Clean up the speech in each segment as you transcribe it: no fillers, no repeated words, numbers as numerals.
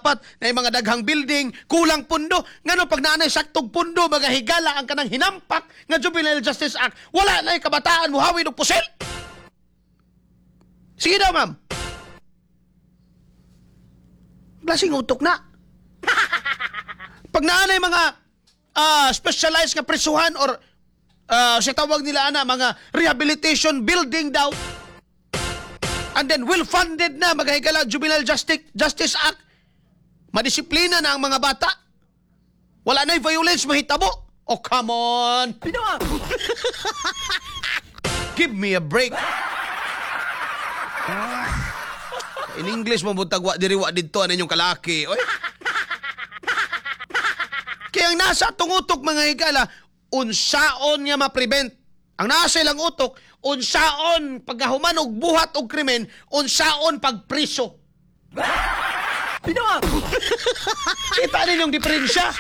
dapat na mga daghang building, kulang pundo. Ngano pag naanay saktog pundo, mga higala, ang kanang hinampak nga Juvenile Justice Act, wala na kabataan muhawid og pusil? Sige daw, ma'am. Blasing utok na. Pag naanay mga specialized nga prisuhan or sa tawag nila ana mga rehabilitation building daw, and then well funded na, mga higala, Juvenile Justice Act, madisiplina na ang mga bata, wala na violence mahitabo. Oh, come on, give me a break. In English mo buntag, wa diri wa didto ano inyong kalaki, oy. Kaya ang nasa atong utok, mga higala, unsaon nga ma-prevent. Ang nasa ilang utok, unsaon pagkahuman og buhat og krimen, unsaon pagpriso. Kita ninyong diferensya.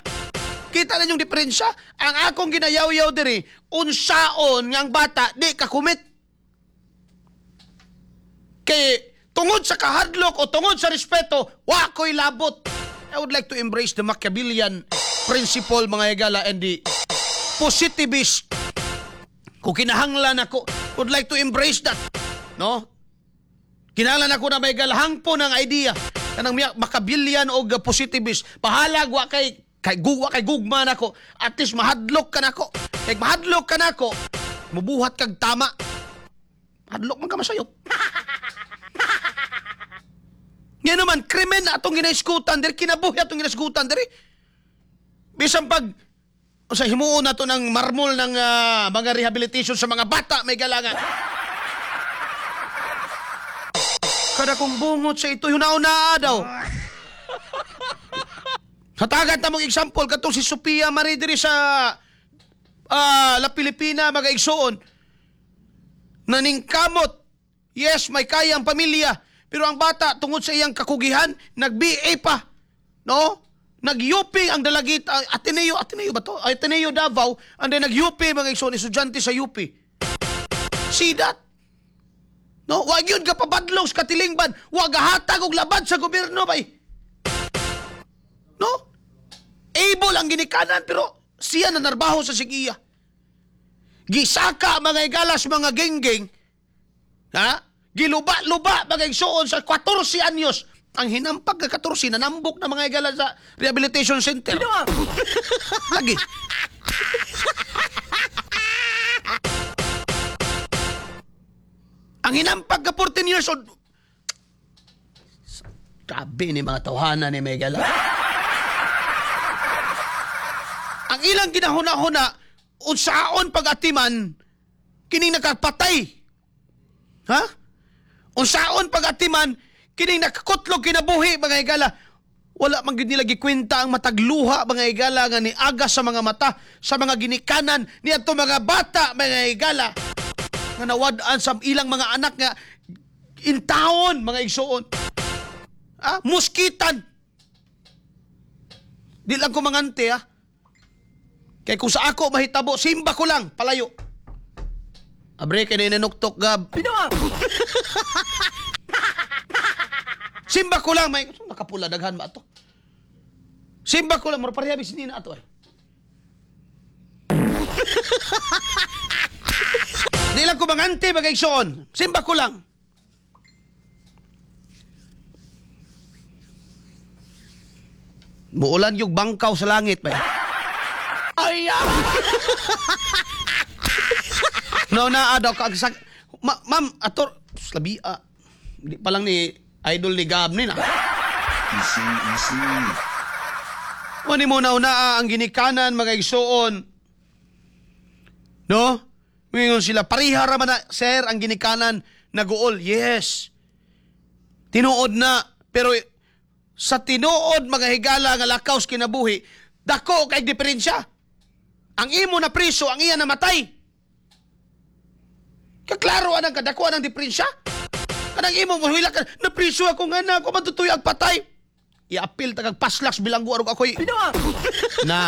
Kita ninyong diferensya. Ang akong ginayaw-yaw diri, unsaon nga ang bata di ka commit. Kay tungod sa kahadlok o tungod sa respeto, wa ko'y labot. I would like to embrace the Machiavellian principle, mga higala, and the positivist. Kung kinahanglan ako, would like to embrace that. No? Kinahanglan ako na may galahang po ng idea. Kanang Machiavellian o positivist. Bahalag wa kay guwa kay gugma nako. At least mahadlok ka nako. Kay mahadlok ka nako, mubuhat kag tama. Hadlok man ka masayop. Nga naman, krimen na atong ginaiskutan diri, kinabuhi atong ginaiskutan diri. Bisan pag sa himuon nato ng marmol ng mga rehabilitation sa mga bata, may galangan. Kada kong bungot sa ito, hunaw-naa daw. Hatagan ta mong example, katong si Sophia Marie diri sa La Pilipina, mga igsoon. Naningkamot. Yes, may kaya ang pamilya. Pero ang bata, tungod sa iyang kakugihan, nag-BA pa. No? Nag-UP ang dalagit, Ateneo, Ateneo ba to? Ateneo Davao, and then nag-UP, mga igsoon, estudyante sa UP. See that? No? Wag yun ka pabadlong sa katilingban. Wag hatag og labad sa gobyerno bay. No? Able ang ginikanan pero siya na narbaho sa sigiya. Gisaka, mga igalas, mga genggeng. Ha? Giluba-luba, mga igsoon, sa 14 anyos. Ang hinampag ka 14 nanambok na, mga igala, sa rehabilitation center. Lagi. Ang hinampag ka 14 years old. Grabe ni mga tawhana ni Megala. Ang ilang ginahuna-huna, unsaon pag-atiman, kining nakapatay. Ha? Unsaon pag-atiman, kining nakakutlog kinabuhi, mga higala. Wala man gyud nila gikwenta ang matagluha, mga higala, nga niaga sa mga mata, sa mga ginikanan, niadto mga bata, mga higala, nga nawad-an sa ilang mga anak nga intawon, mga igsuon. Ah, muskitan. Di lang ko mangante, ha. Kay kung sa ako mahitabo, simba ko lang, palayo. Abre, kay ninuktok, Gab. Simba ko lang, may nakapula, daghan ba ato? Simba ko lang, mura pareha bisin na ato ay. Di lang ko mangante, mga igsoon. Simba ko lang. Muulan yung bangkaw sa langit, bay. Ay, ah! No, na, daw, kag, ma'am, ator, labi, di pa lang ni idol ni Gab ni na. Easy, easy. Wani mo na una ang ginikanan, mga igsoon. No? Mingon sila, pariha ra man na, sir, ang ginikanan naguol. Yes. Tinuod na, pero sa tinuod, mga higala, nga lakaw sa kinabuhi, dako kay diferensya. Ang imo na priso, ang iya namatay. Kaklaro anang kadako anang diferensya. Kanang imo mo hila ka, napriso ako nga na ako matutuyo ang patay. I-appeal tagag paslaks bilanggo arog ako'y. Na.